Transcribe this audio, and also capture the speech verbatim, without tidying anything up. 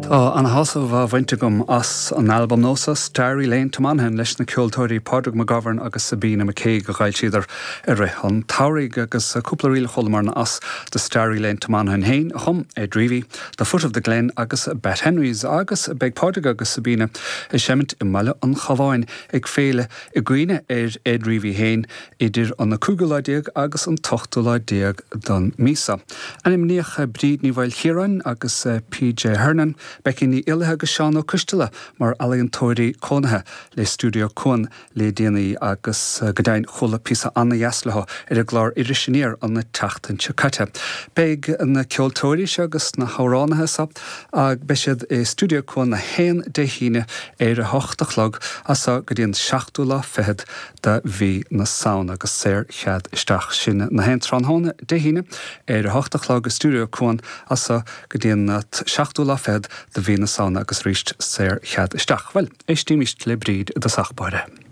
Tá an-shásamh á bhaint agam as an albam nua seo Starry Lane to Monaghan leis na ceoltóirí Pádraig McGovern agus Sabina McCaig a d'fhoilsíodar i rith an tsamhraidh agus cúpla ríl chualamar as The Starry Lane to Monaghan féin a chum Ed Reavy, The Foot of the Glen agus Bat Henrys agus beidh Pádraig agus Sabina ag seimint i mBaile an Chabháin ag féile i gcuimhne ar Ed Reavy féin idir an cúigiú lá déag agus an t-ochtú lá déag den mhí seo. Ainmníodh Bríd Ní Mhaoilchiaráin agus PJ Hernan, Becky Ní Fhilathe agus Seán Ó Coisteala mar ealaíontóirí cónaithe le Stiúideo Cuan le déanaí agus go deimhin chuala píosa an-deas leo ar an gclár Iris Aniar an tseachtain seo caite. Beidh na ceoltóirí seo agus na hamhránaithe seo beidh siad i Stiúideo Cuan a haon Dé hAoine ar a hocht a chlog as go dtí an seachtú lá fichead de mhí na Samhna agus saorchead isteach sin na haon tráthnóna Dé hAoine ar a hocht a chlog i Stiúideo Cuan as go dtí an seachtú lá fichead de mhí na Samhna agus arís saorchead isteach. Well, éistimid le Bríd i dtosach báire.